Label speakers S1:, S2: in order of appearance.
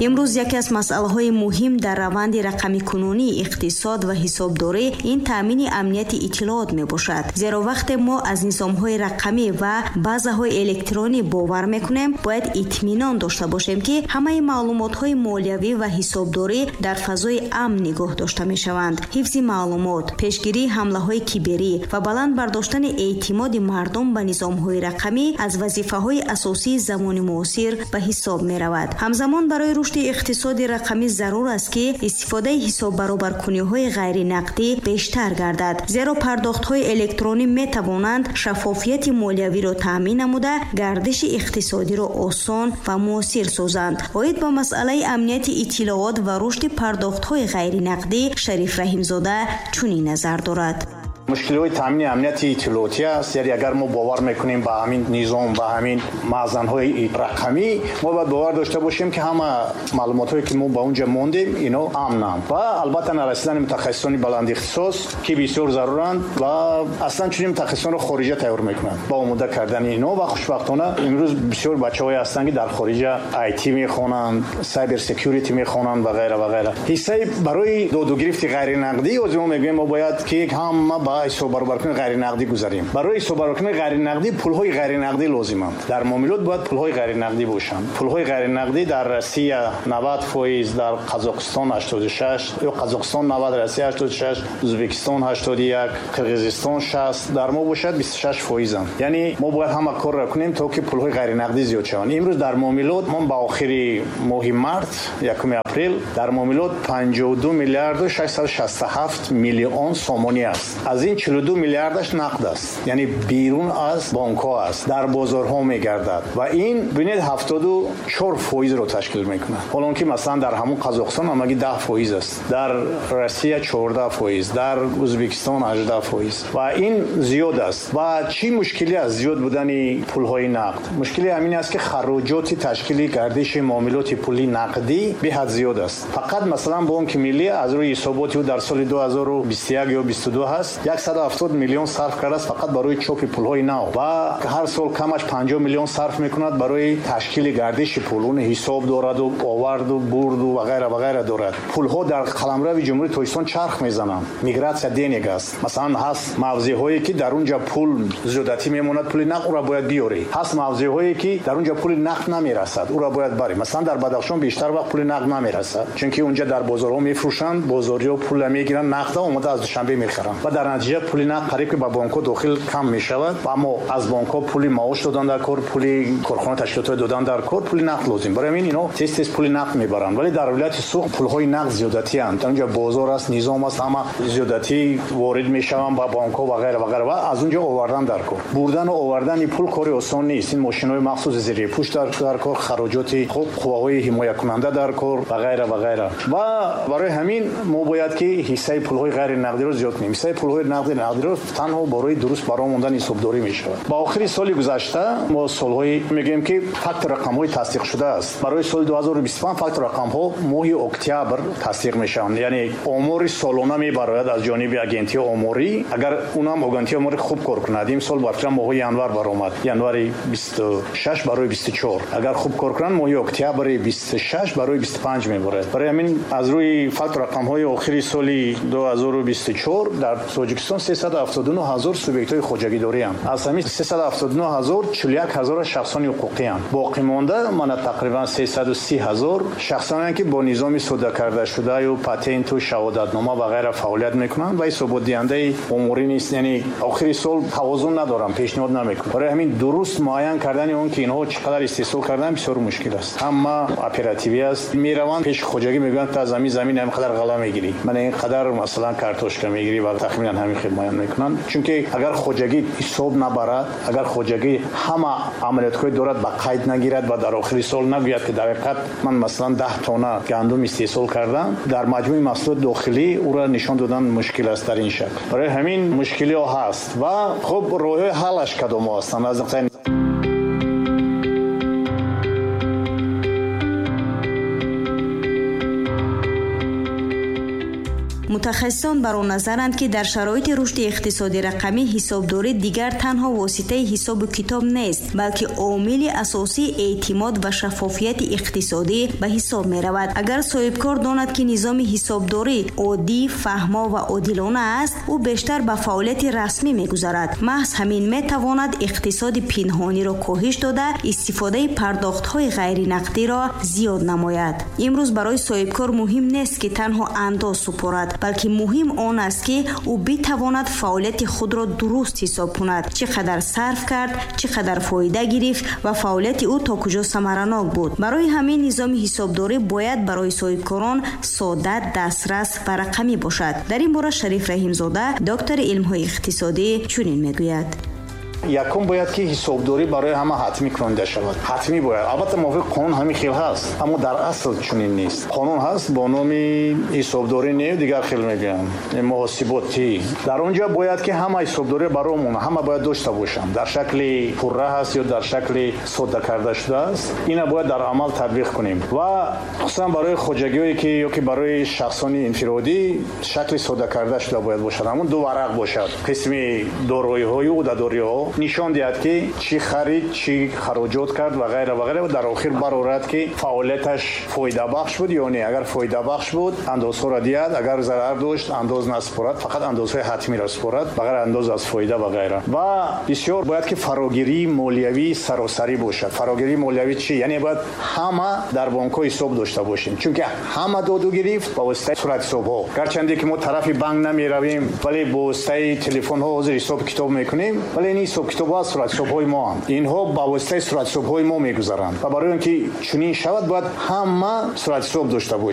S1: Имрӯз яке аз масъалаҳои муҳим дар раванди рақамикунонии иқтисод ва ҳисобдорӣ ин таъмини амнияти иттилоот мебошад. Зеро вақте мо аз низомҳои рақамӣ ва базаҳои электронӣ бовар мекунем, бояд итминон дошта бошем, ки ҳамаи маълумотҳои молиявӣ ва ҳисобдорӣ дар фазои амн нигоҳ дошта мешаванд. Ҳифзи маълумот, пешгирии ҳамлаҳои киберӣ ва баланд бардоштани эътимоди мардум ба низомҳои рақамӣ аз вазифаҳои асосии замони муосир ба ҳисоб меравад. Ҳамзамон барои рушди иқтисоди рақамӣ зарур аст, ки истифодаи ҳисоббаробаркуниҳои ғайринақдӣ бештар гардад, зеро пардохтҳои электронӣ метавонанд шаффофияти молиявиро таъмин намуда, гардиши иқтисодиро осон ва муосир созанд. Оид ба масъалаи амнияти иттилоот ва рушди пардохтҳои ғайринақдӣ Шариф Раҳимзода чунин назар дорад.
S2: Мушкилиҳои таъмини амнияти иттилоотӣ аст. Яъне агар мо бовар мекунем ба ҳамин низом, ба ҳамин маъзанҳои рақамӣ, мо бояд бовар дошта бошем, ки ҳама маълумотҳое, ки мо ба онҷа мондем, ино амнанд. Ва албатта нарасидани мутахассисони баландихтисос, ки бисёр заруранд ва аслан чунин мутахассисонро хориҷа тайёр мекунанд ба омода кардани ино. Ва хушбахтона имрӯз бисёр бачаҳое ҳастанд, ки дар хориҷа IT мехонанд, cyber security мехонанд ва ғайра ва ғайра. Ҳиссаи барои додугирифти ғайринақдӣ ҳозир мо мегӯем, мо бояд ки ҳама ба ҳисоббаробаркунии ғайринақдӣ гузарем. Барои ҳисоббаробаркунии ғайринақдӣ пулҳои ғайринақдӣ лозиманд. Дар муомилот бояд пулҳои ғайринақдӣ бошанд. Пулҳои ғайринақдӣ дар Россия 90%, дар Қазоқистон 86, ё Қазоқистон 90, Россия 86, Ӯзбекистон 81, Қирғизистон 60, дар мо бошад 26%. Яъне мо бояд ҳама корро кунем, то ки пулҳои ғайринақдӣ зиёд шаванд. Имрӯз дар муомилот мо ба охири моҳи март, 1 апрел, дар муомилот 52 миллиарду 667 миллион сомонӣ аст. Аз ин 42 миллиардаш нақд аст, яъне берун аз бонкҳо аст, дар бозорҳо мегардад ва ин бинед 74%-ро ташкил мекунад. Ҳол он ки масалан дар ҳамон Қазоқистон ҳамагӣ 10% аст, дар Россия 14%, дар Ӯзбекистон 18%, ва ин зиёд аст. Ва чӣ мушкиле аст зиёд будани пулҳои нақд? Мушкили ҳамин аст, ки хароҷоти ташкили гардиши муомилоти пули нақдӣ беҳад зиёд аст. Фақат масалан Бонки Миллӣ аз рӯи ҳисоботи ӯ дар соли 2021 ё 22 ҳаст, 170 миллион сарф кардааст фақат барои чопи пулҳои нав ва ҳар сол камаш 50 миллион сарф мекунад барои ташкили гардиши пул. Он ҳисоб дораду оварду бурду ва ғайра ва ғайра дорад. Пулҳо дар қаламрави Ҷумҳурии Тоҷикистон чарх мезананд. Мигратсия денег аст. Масалан ҳаст мавзеъҳое, ки дар онҷа пул зиёдатӣ мемонад, пули нақд ӯро бояд биёрӣ. Ҳаст мавзеъҳое, ки дар онҷа пули нақд намерасад, ӯро бояд барӣ. Масалан дар Бадахшон бештар вақт пули нақд намерасад, чунки онҷа дар бозорҳо мефурӯшанд, бозориҳо пулро мегиранд, нақдро омода аз Душанбе мехаранд ва дар натиҷа пули нақд қариб ки ба бонкҳо дохил кам мешавад. Аммо аз бонкҳо пули маош додан дар кор, пули корхона ташкилотҳо додан дар кор, пули нақд лозим. Барои ҳамин ино тез тез пули нақд мебаранд. Вале дар вилояти Суғд пулҳои нақд зиёдатианд. Дар онҷа бозор аст, низом аст, ҳама зиёдатӣ ворид мешаванд ба бонкҳо ва ғайра ва ғайра ва аз онҷо овардан дар кор. Бурдан ва овардани пул кори осон нест. Ин мошинҳои махсуси зерипӯш дар кор, хароҷоти хуб, қувваҳои ҳимоякунанда дар кор ва ғайра ва ғайра. Ва барои ҳамин мо бояд ки ҳиссаи пулҳои ғайринақдиро зиёд кунем. Ҳиссаи пулҳои нақдиро танҳо барои дуруст баромадани ҳисобдорӣ мешавад. Ба охири соли гузашта мо солҳои мегӯем, ки факт рақамҳои тасдиқ шудааст. Барои соли 2025 факт рақамҳо моҳи октябр тасдиқ мешаванд. Яъне омори солона мебарояд аз ҷониби агентии оморӣ. Агар унам агентии оморӣ хуб кор кунад, имсол ба фикрам моҳи январ баромад, январи 26 барои 24. Агар хуб кор кунанд, моҳи октябри 26 барои 25 мебарояд. Барои ҳамин аз рӯи факт рақамҳои охири соли 2024 дар Тоҷикистон 379 ҳазор субъектҳои хоҷагидорианд. Аз ҳамин 379 ҳазор 41 ҳазор шахсони ҳуқуқианд. Боқимонда мана тақрибан 330 ҳазор шахсонеанд, ки бо низоми сода карда шудаю патенту шаҳодатнома ва ғайра фаъолият мекунанд ва ҳисоботдиҳандаи оморӣ нест. Яъне охири сол тавозун надоранд, пешниҳод намекунанд. Барои ҳамин дуруст муайян кардани он, ки инҳо чӣ қадар истеҳсол карданд, бисёр мушкил аст. Ҳама оперативӣ аст. Мераванд пеши хоҷагӣ, мегӯянд ту аз ҳамин замин ҳамин қадар ғалла мегирӣ, мана ин қадар масалан картошка мегирӣ ва тахминан ҳамин хел муайян мекунанд. Чунки агар хоҷагӣ ҳисоб набарад, агар хоҷагӣ ҳама амалиётҳои дорад ба қайд нагирад ва дар охири сол нагӯяд, ки дар ҳақиқат ман масалан 10 тонна гандум истеҳсол кардам, дар маҷмӯи маҳсулоти дохилӣ ӯро нишон додан мушкил аст дар ин шакл. Барои ҳамин мушкилиҳо ҳаст ва хуб роҳҳои ҳаллаш кадомҳо ҳастанд аз нуқтаи
S1: Мутахассисон бар он назаранд, ки дар шароити рушди иқтисоди рақамӣ ҳисобдорӣ дигар танҳо воситаи ҳисобу китоб нест, балки омили асосии эътимод ва шаффофияти иқтисодӣ ба ҳисоб меравад. Агар соҳибкор донад, ки низоми ҳисобдорӣ оддӣ, фаҳмо ва одилона аст, ӯ бештар ба фаъолияти расмӣ мегузарад. Маҳз ҳамин метавонад иқтисоди пинҳониро коҳиш дода, истифодаи пардохтҳои ғайринақдиро зиёд намояд. Имрӯз барои соҳибкор муҳим нест, ки танҳо андоз супорад, балки муҳим он аст, ки ӯ битавонад фаъолияти худро дуруст ҳисоб кунад, чӣ қадар сарф кард, чӣ қадар фоида гирифт ва фаъолияти ӯ то куҷо самаранок буд. Барои ҳамин низоми ҳисобдорӣ бояд барои соҳибкорон сода, дастрас ва рақамӣ бошад. Дар ин бора Шариф Раҳимзода, доктори илмҳои иқтисодӣ, чунин мегӯяд.
S2: Якум, бояд ки ҳисобдорӣ барои ҳама ҳатмӣ кунонида шавад. Ҳатмӣ бояд, албатта, мувофиқи қонун ҳамин хел ҳаст, аммо дар асл чунин нест. Қонун ҳаст бо номи ҳисобдорӣ не, дигар хел мегӯянд, муҳосиботӣ. Дар он ҷо бояд ки ҳама ҳисобдорӣ баромон ҳама бояд дошта бошанд, дар шакли пурра ҳаст ё дар шакли содда карда шудааст. Ина бояд дар амал татбиқ кунем ва хусусан барои хоҷагиҳое ки ё ки барои шахсони инфиродӣ шакли содда карда шуда бояд бошад. Ҳамун ду варақ бошад: қисми дороиҳою ӯҳдадориҳо нишон диҳад, ки чӣ харид, чӣ хароҷот кард ва ғайра ва ғайра, ва дар охир барорад, ки фаъолияташ фоидабахш буд ё не. Агар фоидабахш буд, андозҳоро диҳад, агар зарар дошт, андоз насупорад, фақат андозҳои ҳатмиро супорад, ба ғайр андоз аз фоида ва ғайра. Ва бисёр бояд ки фарогирии молиявии саросарӣ бошад. Фарогирии молиявӣ чӣ? Яъне бояд ҳама дар бонкҳо ҳисоб дошта бошем, чунки ҳама доду гирифт ба воситаи суратҳисобҳо. Гарчанде ки мо тарафи банк намеравем, вале бо воситаи телефонҳо ҳозир ҳисоб китоб мекунем, вале ин ҳисоб китобҳо аз суратҳисобҳои моанд, инҳо ба воситаи суратҳисобҳои мо мегузаранд. Ва барои он ки чунин шавад, бояд ҳама суратҳисоб дошта бошем.